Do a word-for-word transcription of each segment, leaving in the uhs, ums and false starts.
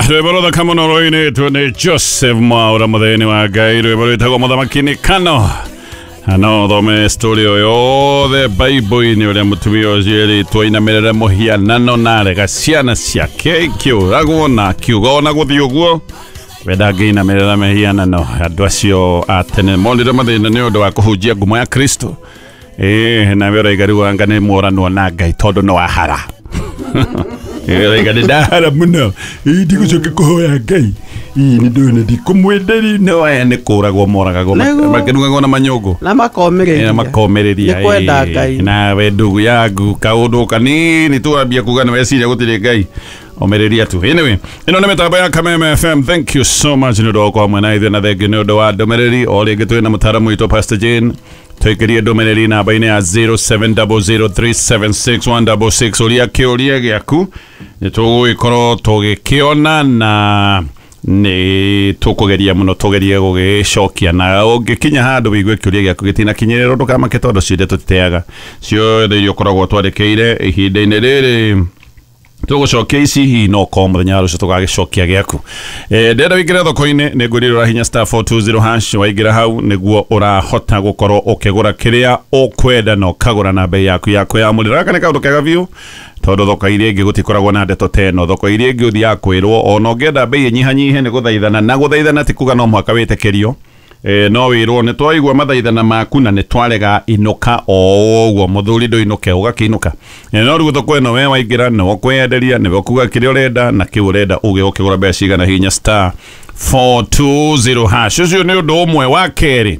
Rwĩmbo rũthaka mũno rũinĩtwo nĩ Joseph Mwaũra, mũthĩni wa Ngai. Rwĩmbo rwĩtagwo Mũthamaki nĩ Kano. No thome story ĩyo yothe Bible-inĩ, ũrĩa mũtumia ũcio erĩtwo ainamĩrĩre mũhianano na arega ciana ciake ikĩũragwo, na akiuga ona gũthiĩ ũguo we ndangĩinamĩrĩra mĩhianano. Andũ acio a tene monire mathĩna nĩ ũndũ wa kũhunjia ngumo ya Kristo. Ĩĩ, nawe ũraiga rĩu anga nĩ mworanwo na Ngai tondũ no wahara. Ũraiga nĩ ndahara mũno, ĩĩ, ndigũcoka kũhoya Ngai, ĩĩ, nĩ ndũĩ nĩ ndikũmwenderia. No aya nĩ kũragwo moragagwo, Nĩguo. makĩrugagwo na manyũngũ. Na makomĩrĩria. Na makomĩrĩria. Nĩ kwenda ĩĩ. Ngai. Nawe ndugu yangu, kaũndũ kanini tu wambia kuga nĩ weciria gũtirĩ Ngai, omĩrĩria tu. Anyway, ĩno nĩ mĩtambo ya Kameme F M. Thank you so much nĩ ũndũ wa gũkorwo hamwe na ithuĩ, na thengiũ nĩ ũndũ wa ndũmĩrĩri. O rĩngĩ twĩ na mũtaaramu witũ Pastor Jane. Tũikĩrie ndũmĩrĩri namba-inĩ ya zero seven zero zero three seven six one six six, ũria kĩũria gĩaku, nĩ tũgũgĩkorwo tũgĩkĩona na nĩ tũkũgeria mũno tũgerie gũgĩcokia. Na ũngĩkinya handũ wĩigue kĩũria gĩaku gĩtinakinyĩrĩrwo, ndũkamake, tondũ ciothe tũtiteaga, ciothe iria ũkoragwo twandĩkĩire. Ihinda-inĩ rĩrĩ tũgũcokia ici, hihi no korwo mũthenya wa rũcio tũgagĩcokia gĩaku. Eh, ndĩrenda wĩingĩre thoko-inĩ, nĩ ngwĩrire ũrahinya star four two zero hash. Waingĩra hau nĩguo ũrahota gũkorwo ũkĩgũra kĩrĩa ũkwenda na ũkagũra na bei yaku ya kwĩyamũrĩra. Gaka nĩ kaũndũ kega biũ, tondũ thoko iria ingĩ gũtikoragwo na ndeto ta ĩno. Thoko iria ingĩ ũthiaga kwĩrwo ona ũngĩenda bei ĩnyihanyihe nĩ gũthaithana, na gũthaithana ti kuga no mũhaka wĩtĩkĩrio. E, no wĩrwo nĩ twaigua mathaithana maku na nĩ twarega, inũka o ũguo, mũthuri ndũinũke, ũgakĩinũka. E, no rĩu thoko ĩno we waingĩra nĩwe ũkwĩyenderia, nĩwe ũkuga kĩrĩa ũrenda na kĩu ũrenda uge ũkĩgũra mbeca cigana. Hinya star four two zero hash. Ũcio nĩ ũndũ ũmwe. Wa kerĩ,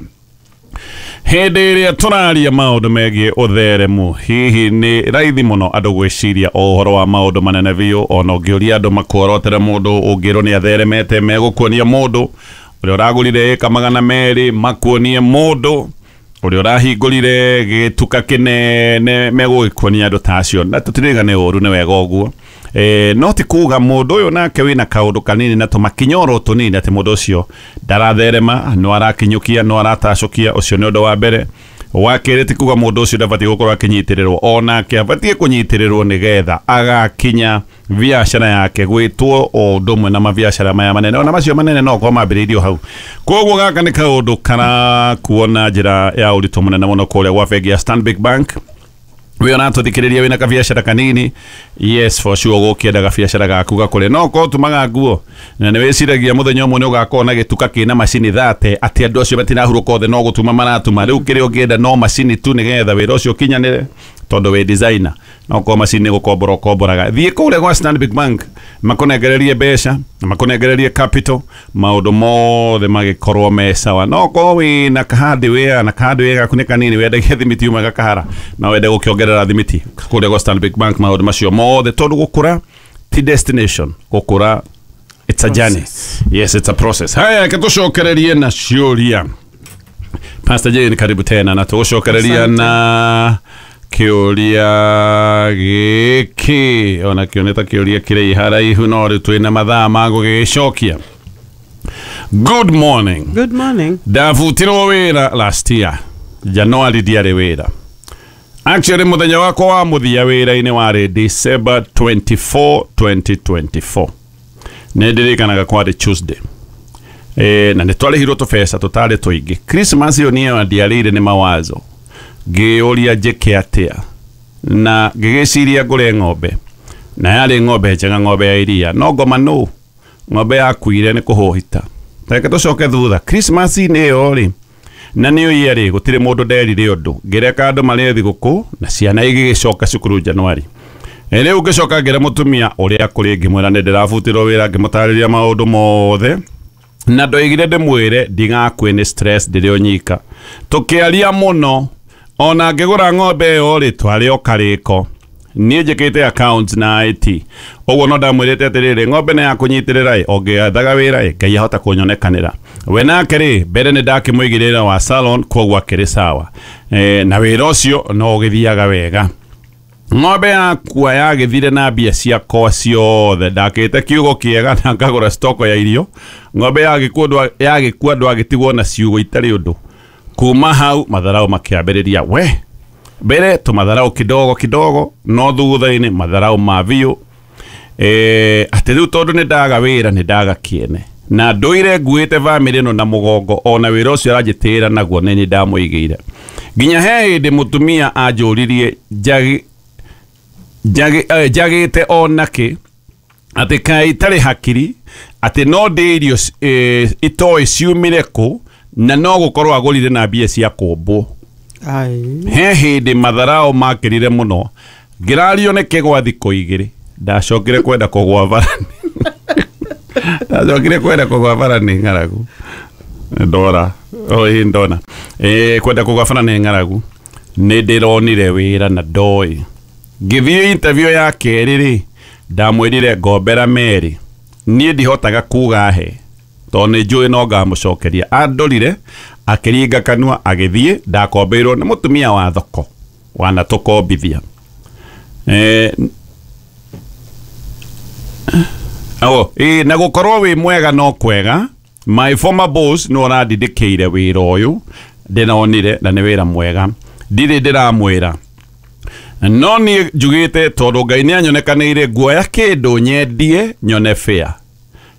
hĩndĩ ĩrĩa tũraria maũndũ megiĩ ũtheremu, hihi nĩ raithi mũno andũ gwĩciria o ũhoro wa maũndũ manene biũ. Ona ũngĩũria andũ makuorotere mũndũ ũngĩrwo nĩ atheremete, megũkuonia mũndũ ũrĩa ũragũrire ĩka magana merĩ, makuonie mũndũ ũrĩa ũrahingũrire gĩtuka kĩnene, megũgĩkuonia andũ ta acio. Na tũtirĩga nĩ ũru, nĩ wega ũguo. E, no ti kuga mũndũ ũyũ nake wĩna kaũndũ kanini na tũmakinyoro tũnini atĩ mũndũ ũcio ndaratherema, no arakinyũkia, no aratacũkia. Ũcio nĩ ũndũ wa mbere. Wa kerĩ, ti kuga mũndũ ũcio ndabatiĩ gũkorwo akĩnyitĩrĩrwo, onake abatiĩ kũnyitĩrĩrwo nĩgetha agakinya biacara yake gwĩtwo o ũndũ ũmwe na mabiacara maya manene, ona macio manene no korwo mambĩrĩirio hau. Koguo gaka nĩ kaũndũ karakuo na njĩra ya ũritũ mũnene mũno kũrĩa gwa bengi ya Stanbic Bank. Wĩ ũratũthikĩrĩria wĩna kabiacara kanini, yes, for sure ũgũkĩenda gabiacara gaku gakũre. No korwo ũtumaga nguo na nĩ wĩciragia mũthenya ũmwe nĩ ũgakorwo na gĩtuka kĩna macini thate, atĩ andũ acio matirahurũka othe no gũtuma maratuma, rĩu kĩrĩa ũngĩenda no macini tu nĩgetha wĩra ũcio ũkinyanĩre, tondũ wĩ designer, no korwo macini gũkombora ũkomboraga, thiĩ kũrĩa gwa Stanbic Bank makũnengererie mbeca na makũnengererie capital, maũndũ mothe magĩkorwo me sawa. No korwo wĩna kahardware na kahardware gaku nĩ kanini, wendagia thimiti uma gakahara na wende gũkĩongerera thimiti, kũrĩa gwa Stanbic Bank maũndũ macio mothe, tondũ gũkũra ti destination, gũkũra it's a journey. Yes, it's a process. Haya, reke tũcokererie na ciũria. Pastor Jane, karibu tena, na tũgũcokereria Asante. na kĩũria gĩkĩ, ona kĩo nĩ ta kĩũria kĩrĩ haraihu, no rĩu twĩna mathaa ma gũgĩcokia. Good morning. Good morning. Ndabutirwo wĩra last year January, ndiarĩ wĩra. Actually, mũthenya wakwa wa mũthia wĩra-inĩ warĩ December twenty-fourth twenty twenty-four. Nĩ ndirikanaga kwarĩ Tuesday. E, na nĩ twarĩhirwo tũbeca tũtarĩ tũingĩ. Christmas ĩyo niĩ ndiarĩire nĩ mawazo, ngĩũria njĩke atĩa, na ngĩgĩciria ngũre ng'ombe, na yarĩ ng'ombe njega, ng'ombe ya iria, no ngoma nũ ng'ombe yakuire nĩ kũhũhita. Reke tũcoke thutha. Christmas-inĩ ĩyo rĩ, na nĩ ũyia rĩ, gũtirĩ mũndũ nderire ũndũ, ngĩreka andũ marĩe thigũkũ na ciana igĩgĩcoka cukuru Januari. E, rĩu ngĩcoka ngĩra mũtumia ũrĩa kũrĩ, ngĩmwĩra nĩ ndĩrabutirwo wĩra, ngĩmũtarĩria maũndũ mothe, na ndoigire ndĩmwĩre ndigakue nĩ stress ndĩrĩ o nyika. Tũkĩaria mũno, ona ngĩgũra ng'ombe ĩyo rĩ, twarĩ o karĩko. Niĩ njĩkĩte accounts na I T, ũguo no ndamwĩrĩte atĩrĩrĩ, ng'ombe nĩ ya kũnyitĩrĩra ĩ, ũngĩethaga wĩra ĩ, Ngai ahota kũnyonekanĩra. We nake rĩ, mbere nĩ ndakĩmũigĩrĩra wĩra wa salon, koguo akĩrĩ sawa. e, na wĩra ũcio no ũgĩthiaga wega. Ng'ombe yakua yagĩthire na mbia ciakwa ciothe. Ndakĩte kiugo kĩega na ngagũra stoko ya irio. Ng'ombe yagĩkua yagĩkua ndwagĩtigwo na ciugo itarĩ ũndũ. Kuma hau matharau makĩambĩrĩria. We mbere tũmatharau kidogo kidogo, no thutha-inĩ matharau ma biũ. Eh atĩ rĩu tondũ nĩ ndaga wĩra nĩ ndaga kĩene na ndũire nguĩte bamĩrĩ ĩno na mũgongo ona wĩra ũcio aranjĩtĩĩra naguo nĩ niĩ ndamũigĩire. Nginya he hĩndĩ mũtumia anjũririe njagi njagĩte onakĩ atĩ kaĩ itarĩ hakiri atĩ no ndĩ irio itoĩ ciumire kũ na no gũkorwo agũrire na mbia cia kũmbwo. He hĩndĩ matharao makĩrire mũno ngĩrario nĩ kĩgwa thikũ igĩrĩ ndacokire kwenda kũgwa bara ndacokire kwenda kũgwa bara nĩ ng'aragu ndora oi ndona eh kwenda kũgwa bara nĩ ng'aragu nĩ ndĩronire wĩra na ndoĩ ngĩthiĩ interview ya kerĩ rĩ ndamwĩrire ngombera merĩ niĩ ndihotaga kuga he tondũ nĩ njũĩ no ngamũcokeria. Andorire akĩringa kanua agĩthiĩ ndakombeirwo nĩ mũtumia wa thoko wanatũkombithia. Eh oh eh na gũkorwo wĩ mwega no kwega my former boss no arandindĩkĩire wĩra ũyũ ndĩronire na nĩ wĩra mwega ndirĩ ndĩramwĩra no niĩ njugĩte tondũ Ngai nĩ anyonekanĩire nguoya kĩndũ nyendie nyone fair.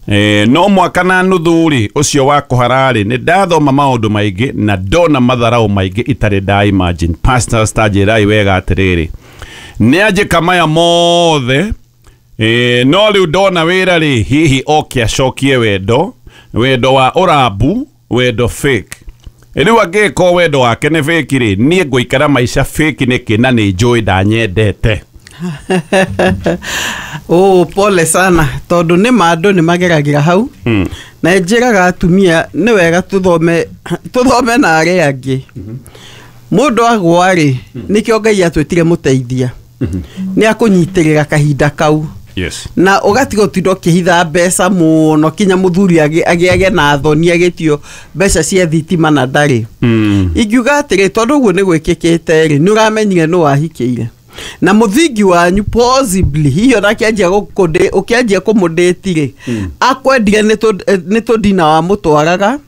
Eh, no mwaka na nuthu rĩ ũcio wa kũhara rĩ nĩ ndathoma maũndũ maingĩ na ndona matharau maingĩ itarĩ nda imagine. Pastors ta njĩrai wega atĩrĩrĩ nĩ anjĩka maya mothe eh, no rĩu ndona wĩra rĩ hihi oke acokie wendo wendo wa ũrambu wendo fake. Rĩu angĩkorwo wendo wake nĩ fake rĩ niĩ ngũikara maica fake nĩkĩ na nĩ njũĩ ndanyendete. Oh, pole sana tondu nĩ ma andũ nĩ mageragĩra hau mm. Na njĩraga atumia nĩ wega tũthome tũthome na arĩa angĩ. Mũndũ agwa rĩ nĩkĩo Ngai atwĩtire mũteithia nĩ akũnyitĩrĩra kahinda kau. Yes. Na ũgatiga ũtinda ũkĩhitha mbeca mũno kinya mũthuri agĩage na thoni agĩtio mbeca cia thitima na ndarĩ. Mm. Ingiuga atĩrĩ tondũ ũguo nĩ gwĩkĩkĩte rĩ nĩ ũramenyire nũ wahikĩire na mũthingi wanyu possibly hihi ona akĩanjia gũkũndĩ ũkĩanjia kũmũndĩti rĩ akwendire nĩ tũndina wamũtwaraga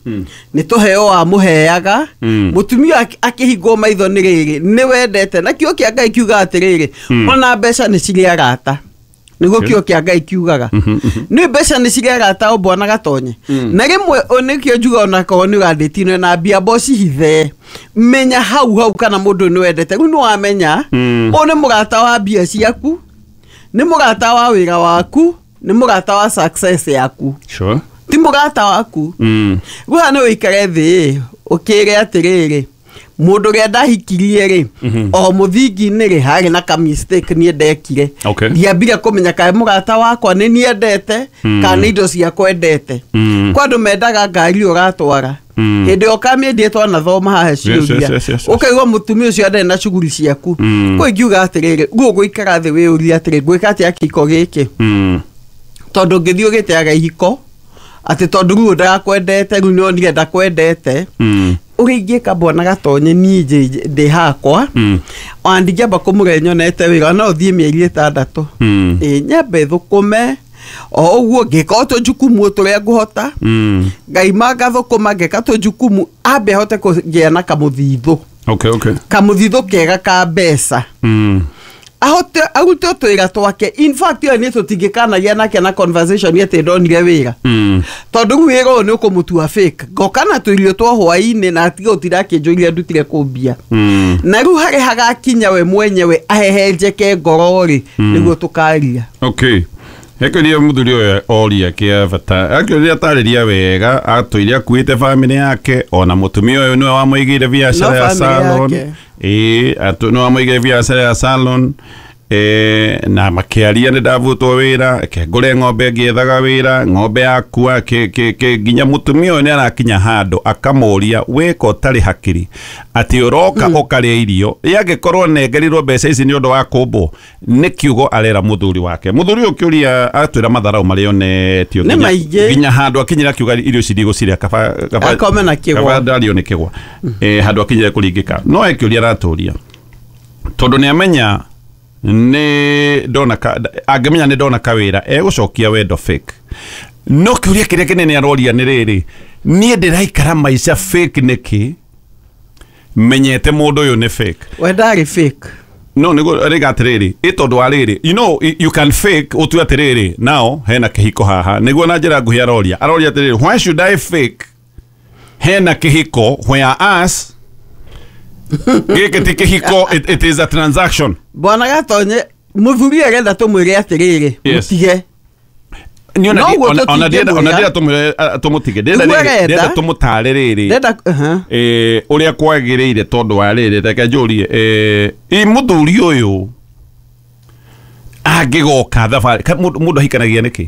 nĩ tũheo wamũheaga mũtumia akĩhingwo maitho nĩ rĩrĩ nĩ wendete na kĩo kĩa Ngai kiuga atĩrĩrĩ ona mbeca nĩ cirĩ arata nĩguo kĩo kĩa Ngai kiugaga nĩ mbeca nĩ cirĩ arata o bwana Gatonye na rĩmwe nĩkĩo njuga onakorwo nĩ ũrandĩtine na mbia mbocihithe menya hau hau kana mũndũ nĩ wendete rĩu nĩ wamenya ũyũ nĩ mũrata wa mbia ciaku nĩ mũrata wa wĩra waku nĩ mũrata wa success yaku. Sure. Ti mũrata waku rĩu haha nĩ ũikare thĩ ũkĩre atĩrĩrĩ mũndũ ũrĩa ndahikirie rĩ o mũthingi-inĩ rĩ harĩ na ka mistake niĩ ndekire ndiambire kũmenya kaĩ mũrata wakwa nĩ niendete kana nĩ indo ciakwa endete. Kwa andũ mendaga ngari ũratwara hĩndĩ ĩyo ũkamĩendia twanathoma haha ciũria ũkaigua mũtumia ũcio ndarĩ na cuguri ciaku kũ ingiuga atĩrĩrĩ guo ũgũikara thĩ wĩyũrie atĩrĩ ngwĩka atĩa kĩhiko gĩkĩ tondũ ũngĩthiĩ ũgĩteaga ihiko atĩ tondũ rĩu ndarakwendete rĩu nĩonire ndakwendete ũrĩa ingĩka bwana Gatonye niĩ ndĩ hakwa ona ndingĩamba kũmũre nyonete wĩra no thiĩ mĩeri ĩtandatũ ĩ nyambe thũkũme o ũguo ngĩka o tũjukumu tũrĩa ngũhota ngaima ngathũkũma ngeka tũjukumu ambe hote kũgĩa na kamũthithũ. Okay, okay. Kamũthithũ kega ka mbeca ahote arute twĩra twake. In fact yo nĩ tũtingĩkanagia nake na conversation atĩ ndonire wĩra tondũ rĩu wĩra ũyũ nĩ ũkũmũtua fake ngoka na tũirio twa hwaĩ-inĩ na atige gũtinda akĩnjũria ndutire kũmbia na rĩu harĩ hagakinya we mwenyewe ahehenjeke ngoro rĩ nĩguo tũkaria. Okay. Hekĩria mũthuri ũyũ oria kĩa bata akĩũria atarĩria wega atũire akuĩte bamĩrĩ yake ona mũtumia ũyũ nĩwe wamũigĩire biacara ya salon ĩĩ nĩwe wamũigĩire biacara ya salon eh na makĩaria nĩ ndavutwo wĩra ke ngũre ng'ombe ngĩethaga wĩra ng'ombe yakua ke ke ke nginya mũtumia ũyũ nĩ arakinya handũ akamũria wĩka ũtarĩ hakiri atĩ ũroka ũkarĩa irio yangĩkorwo nengerirwo mbeca ici nĩ ũndũ wa kũmbwo nĩ kiugo arera mũthuri wake. Mũthuri ũyũ kĩũria atwĩra matharau marĩa onetio nginya handũ akinyĩra kiuga irio ici ndigũcirĩa kaba kaba akome na kĩgwa kaba ndario nĩ kĩgwa eh handũ akinyĩra kũringĩka no ekĩũria aratũria tondũ nĩ amenya nĩ ndona angĩmenya nĩ ndona kawĩra egũcokia wendo fake no kĩũria kĩrĩa kĩnene aroria nĩ rĩrĩ niĩ ndĩraikara maica fake nĩkĩ menyete mũndũ ũyũ nĩ fake. We ndarĩ fake No nĩguo rĩga atĩrĩrĩ, ĩ tondũ wa rĩrĩ, you know, you can fake ũtue atĩrĩrĩ, now hena kĩhiko haha. Nĩguo na njĩra nguhĩ aroria aroria atĩrĩrĩ, why should I fake hena kĩhiko whereas gĩkĩ ti kĩhiko, it, it is a transaction. Bwana Gatonye, mũthuri arenda tũmwĩre atĩrĩrĩ, Yes. mũtige. Ni ona No ũguo ona ona tũtingĩmwĩra. ona ndĩrenda tũmwĩre tũmũtige, ndĩrenda Nĩguo rĩrĩ, arenda. ndĩrenda tũmũtare rĩrĩ Ndenda uh-huh. eh ũrĩa kwagĩrĩire tondũ wa rĩrĩ, reke njũrie, eh ĩ mũthuri ũyũ angĩgoka thabarĩ, ka- mũndũ mũndũ ahikanagia nĩkĩ?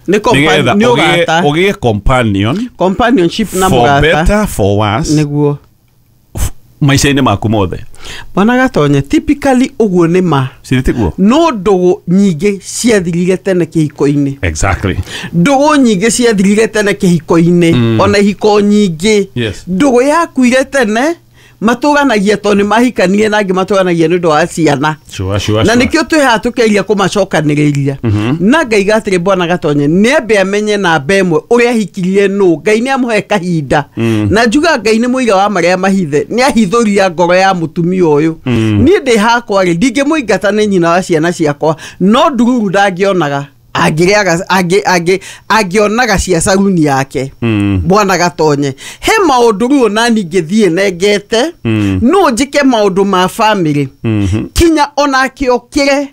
Nĩ compa- Nĩgetha nĩ ũgĩe ũrata. ũgĩe companion Companionship na for mũrata. better for worse Nĩguo. maica-inĩ maku mothe. Bwana Gatonye, typically ũguo nĩ ma. Cirĩ tiguo? No ndũgũ nyingĩ ciathirire tene kĩhiko-inĩ. Exactly. Ndũgũ nyingĩ ciathirire tene kĩhiko-inĩ. Mm. Ona ihiko nyingĩ. Yes. Ndũgũ yakuire tene, matũganagia tondũ nĩ mahikanirie na angĩ matũganagia nĩ ũndũ wa ciana. Sure, sure, Na sure. nĩkĩo twĩ haha tũkĩgeria kũmacokanĩrĩria. Na ngaiga atĩrĩ, Bwana Gatonye, nĩ ambe amenye namba ĩmwe ũrĩa ahikirie nũ. Ngai nĩ amũhe kahinda. Na njuga Ngai nĩ mũira wa marĩa mahithe, nĩ ahithũria ngoro ya mũtumia ũyũ. Niĩ ndĩ hakwa rĩ, ndingĩmũingata nĩ nyina wa ciana ciakwa, no ndururu ndangĩonaga. Angĩrĩaga, angĩ, angĩ, angĩonaga cia caruni yake. Mm. Bwana Gatonye, he maũndũ rĩu ona niĩ ingĩthiĩ nengete, Mm. no njĩke maũndũ ma family. Mhm. Kinya onake okĩre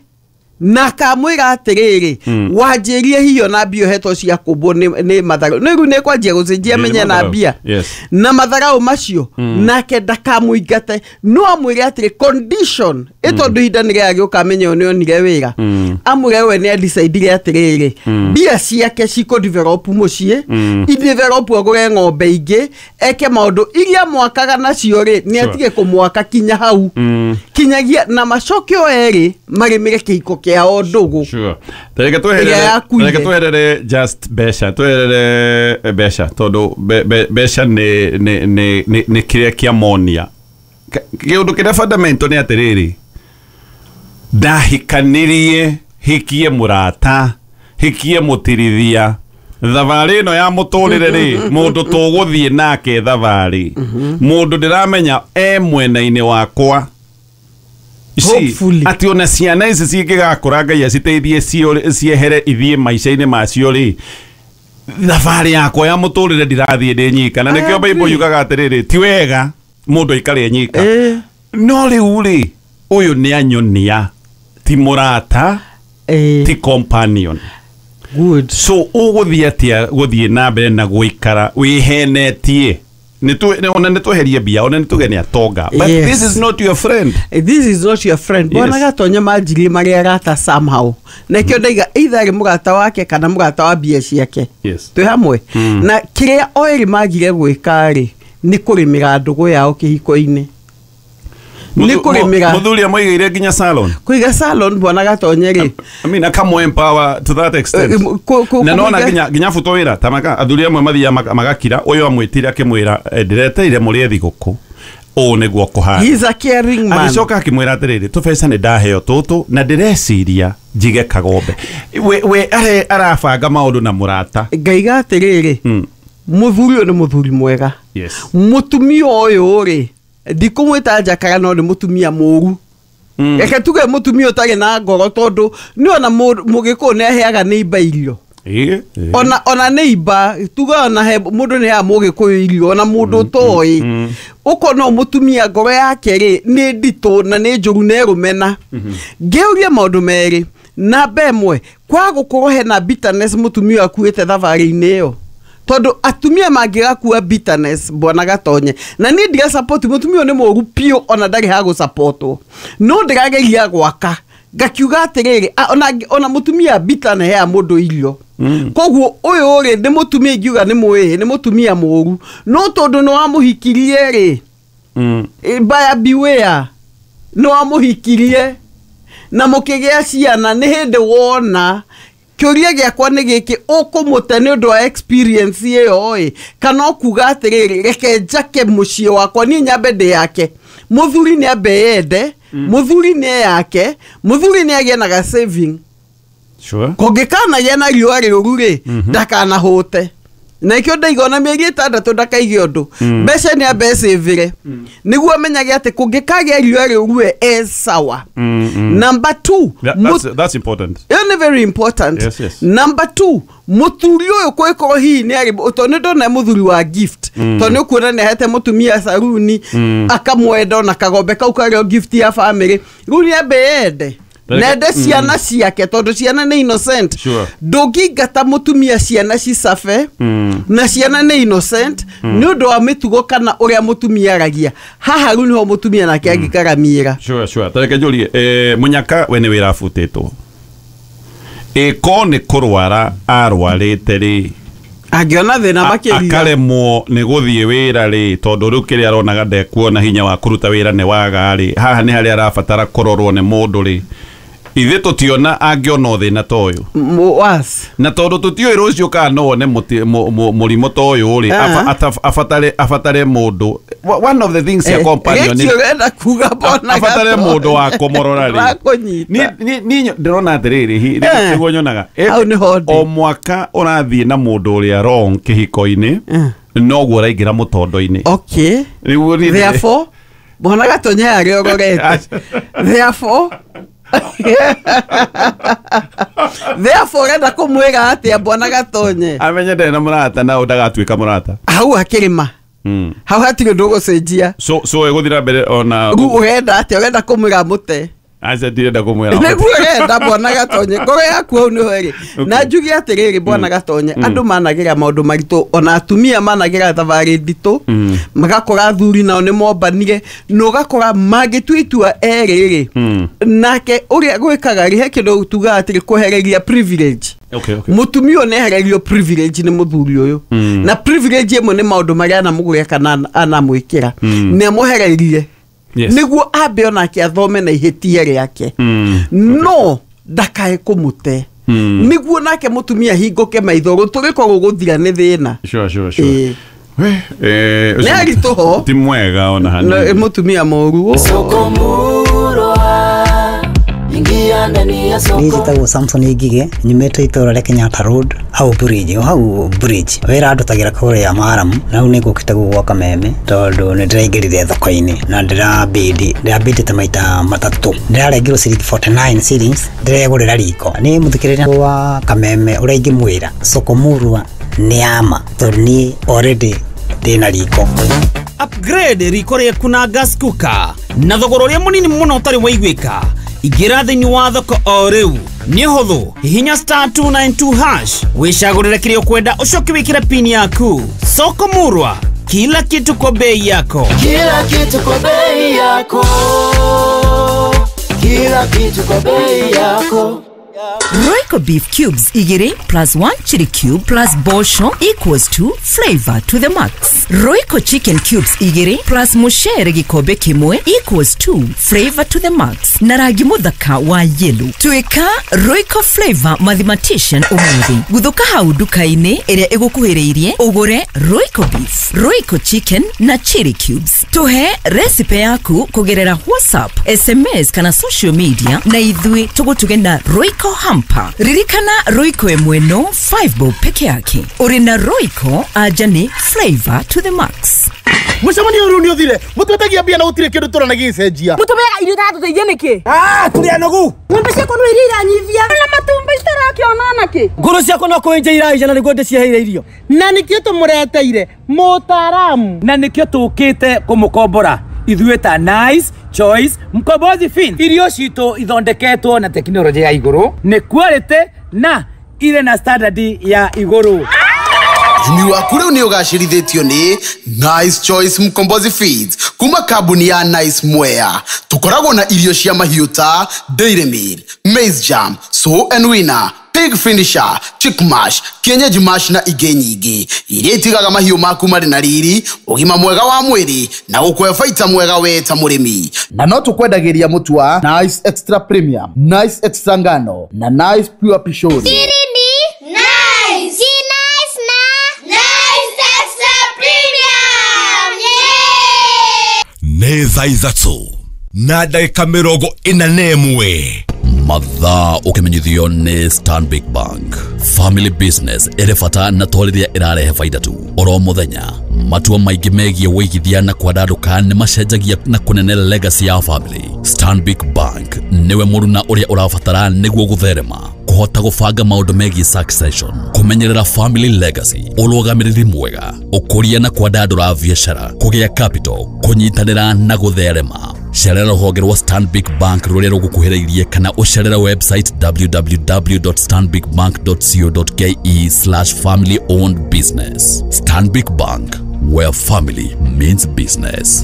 na akamwĩra atĩrĩrĩ, Mm. wanjĩrie hiyo na mbia ũhetwo cia kũmbwo nĩ nĩ matharũ. Nĩ rĩu nĩ kwanjia gũcenjia Nĩ menye na matharau. mbia. Yes. Na matharau macio, nake ndakamũingate, no amwĩre atĩrĩ condition ĩ tondũ ihinda nĩ rĩagĩũka amenye ũyũ nĩonire wĩra. Mm. Amwĩre we nĩ adecidire atĩrĩrĩ, mbia ciake cikũ develop mũciĩ, Mm. i develop agũre ng'ombe ingĩ, eke maũndũ iria mwakaga nacio rĩ, nĩ Sure. atige kũmwaka kinya hau. Mm. Kinyagia na macoke o erĩ marĩmĩre kĩhiko kĩao ndũgũ. Sure. Reke Ĩrĩa tweherere, yakuire. reke tweherere just mbeca, tweherere mbeca tondũ mbe- mbe- mbeca nĩ nĩ nĩ nĩ nĩ kĩrĩa kĩa monia. Ka- kĩũndũ kĩrĩa fundamental nĩ atĩrĩrĩ, ndahikanirie hikie mũrata, hikie mũtirithia, thabarĩ ĩno ya mũtũrĩre rĩ, mũndũ tũgũthiĩ nake thabarĩ, mũndũ ndĩramenya e mwena-inĩ wakwa. See, Hopefully. atĩ ona ciana ici cingĩgakũra Ngai aciteithie ciũre- ciehere ithiĩ maica-inĩ macio rĩ, thabarĩ yakwa ya mũtũrĩre ndirathiĩ ndĩ nyika. Na I nĩkĩo Bible agree. yugaga atĩrĩrĩ, ti wega mũndũ aikare nyika. Eh. No rĩu rĩ, ũyũ nĩ anyonia ti mũrata, Eh, ti companion. Good. So ũgũthiĩ atĩa gũthiĩ na mbere na gũikara wĩhenetie? Nĩ ona nĩ tweherie mbia, ona nĩ tuge nĩ atonga, but Yes. this is not your friend. Eh, this is not your friend. Bwana Yes. Gatonye manjirie marĩ arata somehow, na kĩo ndaiga either arĩ mũrata wake kana mũrata wa mbia ciake. Yes. Twĩ hamwe. Mm. Na kĩrĩa o erĩ magire gwĩka rĩ, nĩ kũrĩmĩra ndũgũ yao kĩhiko-inĩ, nĩ kũrĩmĩra. Mũthuri amũigĩire nginya salon. Kũiga salon, Bwana Gatonye rĩ, I mean, akamũ empower to that extent. Eh, kũ- kũ- Na nona kũmũiga- nginya nginya buto wĩra tamaka athuri amwe mathiaga maka- magakira, ũyũ amwĩtire akĩmwĩra, "Eh, ndĩreteire mũrĩe thigũkũ, ũũ nĩguo kũhana." He is a caring man. Agĩcoka akĩmwĩra atĩrĩrĩ, tũbeca nĩ ndaheo tũtũ na ndĩreciria njige kagombe. We, we are, arabanga maũndũ na mũrata. Ngaiga atĩrĩrĩ, Mm. mũthuri ũyũ nĩ mũthuri mwega. Yes. Mũtumia ũyũ rĩ, ndikũmwĩta njakara, no nĩ mũtumia mũru. Mm. Reke tuge mũtumia ũtarĩ na ngoro, tondũ nĩ ona mũ- mũgĩkũyũ nĩ aheaga neighbor irio. Ĩĩ, ĩĩ. Ona ona neighbor, tuge ona he mũndũ nĩ aheaga mũgĩkũyũ irio, ona mũndũ ũtoĩ. mm. Ũkona ũyũ mũtumia ngoro yake rĩ nĩ nditũ na nĩ njũru na ĩrũmena. Ngĩũria maũndũ merĩ, namba ĩmwe, kwa gũkorwo hena bitterness mũtumia ũyũ akuĩte thabarĩ-inĩ ĩyo, tondũ atumia mangĩgakua bitterness, Bwana Gatonye, na niĩ ndira support mũtumia ũyũ nĩ mũru biũ, ona ndarĩ ha gũsupportwo, no ndĩrageria gwaka ngakiuga atĩrĩrĩ, a- ona ona mũtumia bitter nĩ heaga mũndũ irio. Mm. Koguo ũyũ rĩ nĩ mũtumia ingiuga nĩ mwĩĩ, nĩ mũtumia mũru, no tondũ nĩ wamũhikirie rĩ, Mm. eh, buyer beware, nĩ wamũhikirie na mũkĩgĩa ciana, nĩ hĩndĩ wona. Kĩũria gĩakwa nĩ gĩkĩ, ũkũmũte nĩ ũndũ wa experience ĩyo ĩ, kana ũkuga atĩrĩrĩ, reke njake mũciĩ wakwa niĩ nyambe ndĩ yake? Mũthuri nĩ ambe yende, mũthuri nĩ eyake, mũthuri nĩ agĩe na ga saving. Sure. Kũngĩkanagĩa na riũa rĩũru rĩ, ndakanahũte. Na ikio ndaiga ona mĩeri ĩtandatũ ndakaige ũndũ. Mbeca nĩ ambe ecĩvĩre. Nĩguo amenyage atĩ kũngĩkagĩa riũa rĩũru e sawa. Number two, That, that's, that's important. Ĩyo nĩ very important. Yes, yes. Number two, mũthuri ũyũ kwĩkorwo hihi nĩ arĩ tondũ nĩ ndona mũthuri wa gift. Tondũ nĩ ũkuona nĩ ahete mũtumia saruni akamwenda ona kagombe kau karĩ o gift ya family. Rĩu nĩ ambe ende. Nende ciana ciake tondũ ciana nĩ innocent. Sure. Ndũngĩingata mũtumia ciana cicabe na ciana nĩ innocent nĩ ũndũ wa mĩtugo kana ũrĩa mũtumia aragia. Haha rĩu nĩho mũtumia nake angĩkaramĩra. Sure, sure. Tareke njũrie, eh, Munyaka we nĩ wĩra abutĩtwo. Ĩko nĩ kũrwara arwarĩte rĩ, angĩona thĩna makĩria akaremwo nĩ gũthiĩ wĩra rĩ, tondũ rĩu kĩrĩa aronaga ndekuona hinya wa kũruta wĩra nĩ waga rĩ, haha nĩ harĩa arabatara kũrorwo nĩ mũndũ rĩ. Ithe tũtiona angĩona thĩna ta ũyũ. Na tondũ tũtiũĩ rũciũ kana no wone mũrimũ ta ũyũ rĩ, abatare abatare mũndũ. One of the things ya companion nĩ abatare mũndũ wa kũmũrora rĩ. Ni ni ndĩrona atĩrĩrĩ, nĩguo nyonaga o mwaka ũrathiĩ na mũndũ ũrĩa wrong kĩhiko-inĩ noguo ũraingĩra mũtondo-inĩ. Okay. Therefore, Bwana Gatonye arĩ ũrorete. Therefore, therefore enda kumwira atia Bwana Gatonye amenye ndari na murata na ndagatuika murata hau akirima hau hatiri undu ugucenjia so so eguthira mbere ona riu urenda atia urenda kumwira mute aca ndirenda kumwira niguo urenda Bwana Gatonye ngoro yaku hau niho iri na njuge atiriri Bwana Gatonye andu managira maundu maritu ona atumia managira thabarĩ nditũ magakora athuri nao nĩ mombanire na ũgakora mangĩtua itua erĩ rĩ nake ũrĩa gwĩkaga rĩ he kĩndũ tugaga atĩrĩ kwehereria privilege. Okay, okay. Mutumia ũyũ nĩehererio privilege nĩ mũthuri ũyũ na privilege ĩmwe nĩ maũndũ marĩa anamũgũrĩra kana anamwĩkĩra nĩ amwehereirie. Yes. Niguo ambe onake athome na ihĩtia rĩake no ndakae kũmũte niguo nake mũtumia hingũke maitho gũtũrĩko gũgũthira nĩ thĩna. Sure, sure, sure. Eh, nĩ aritũho ti mwega ona hanini mũtumia mũru. Niĩ njĩtagwo Samson Ngige nyumĩte itũra rĩa Kenyatta Road hau bridge o hau bridge wĩra ndutagĩra kũrĩa Maramu na rĩu nĩngũkĩte gũkũ Kameme tondũ nĩndĩraingĩrire thoko-inĩ na ndĩrabidi ndĩrabidĩte maita matatũ ndĩrarengirwo ciringi forty-nine shillings ndĩregũrĩra riko nĩ mũthikĩrĩria wa Kameme ũrĩa ingĩmwĩra soko murwa nĩ ama tondũ niĩ already ndĩna riko. Upgrade riko rĩaku na gas cooker na thogora ũrĩa mũnini mũno ũtarĩ waiguĩka. Ingĩra thĩinĩ wa thoko o rĩu nĩ hũthũ hihinya star two nine two hash wĩcagũrĩre kĩrĩa ũkwenda ũcoke wĩkĩre pin yaku. Soko Murwa, kila kitu kwa bei yako. Kila kitu kwa bei yako. Kila kitu kwa bei yako. Royco beef cubes igiri plus one chili cube plus bosho equals to flavor to the max. Royco chicken cubes igiri plus mushere gikombe kimwe equals to flavor to the max. Na rangi muthaka wa yellow. Tuika Royco flavor mathematician umuthi. Guthuka hau nduka-inĩ ĩrĩa ĩgũkuhĩrĩirie ũgũre Royco beef, Royco chicken na chili cubes. Tuhe recipe yaku kũgerera WhatsApp, S M S kana social media na ithuĩ tũgũtuge na Royco hamper. Ririkana Royco ĩmwe no five bob peke yake. Uri na Royco aja ni flavor to the max. Mucemanio rĩu nĩ ũthire mũtwetagia mbia na gũtirĩ kĩndũ tũrona gĩgĩcenjia mũtũmeaga irio itatũteithia nĩkĩ ah tũrĩ anogu ng'ombe ciakwa no iria iranyivia na matumbĩ citarakĩona nakĩ ngũrũ ciakwa no kũenja iraija na nĩguo ndĩciheire irio na nĩkĩo tũmũreteire mũtaaramu na nĩkĩo tũkĩte kũmũkombora ithuĩ ta Nice Choice Mkombozi Fin. Irio citũ ithondeketwo na tekinoronjĩ ya igũrũ nĩ quality na ire na standard ya igũrũ. Ũrĩmi waku rĩu nĩ ũgacĩrithĩtio nĩ Nice Choice Mkombozi Feeds kuma kambuni ya Nice Mwea. Tũkoragwo na irio cia mahiũ ta Dairy Meal, Maize Jam, Sow and Winner, Pig Finisher, Chick Mash, Kienyeji Mash na ingĩ nyingĩ iria itigaga mahiũ maku marĩ na riri, ũgima mwega wa mwĩrĩ na gũkũhe baita mwega we ta mũrĩmi. Na no tũkwendagĩria mũtu wa Nice Extra Premium, Nice Extra Ngano na Nice Pure Pishori. Nice. Nice na Nice Extra Premium. Yeah! Nĩ thaa ithatũ na ndagĩka mĩrongo ĩna na ĩmwe mathaa ũkĩmenyithio nĩ Stanbic Bank. Family business ĩrĩ bata na to rĩrĩa ĩrarehe baida tu. Oro mũthenya matua maingĩ megiĩ wĩigithia na kwandandũka nĩ macenjagia na kũnene legacy ya family. Stanbic Bank nĩwe mũruna ũrĩa ũrabatara nĩguo gũtherema, kũhota gũbanga maũndũ megiĩ succession, kũmenyerera family legacy, ũrũgamĩrĩri mwega, ũkũria na kwandandũra biacara, kũgĩa capital, kũnyitanĩra na gũtherema. Cerera rũhonge rwa Stanbic Bank rũrĩa rũgũkuhĩrĩirie kana ũcerere website w w w dot stanbic bank dot co dot k e slash family owned business. Stanbic Bank, where family means business.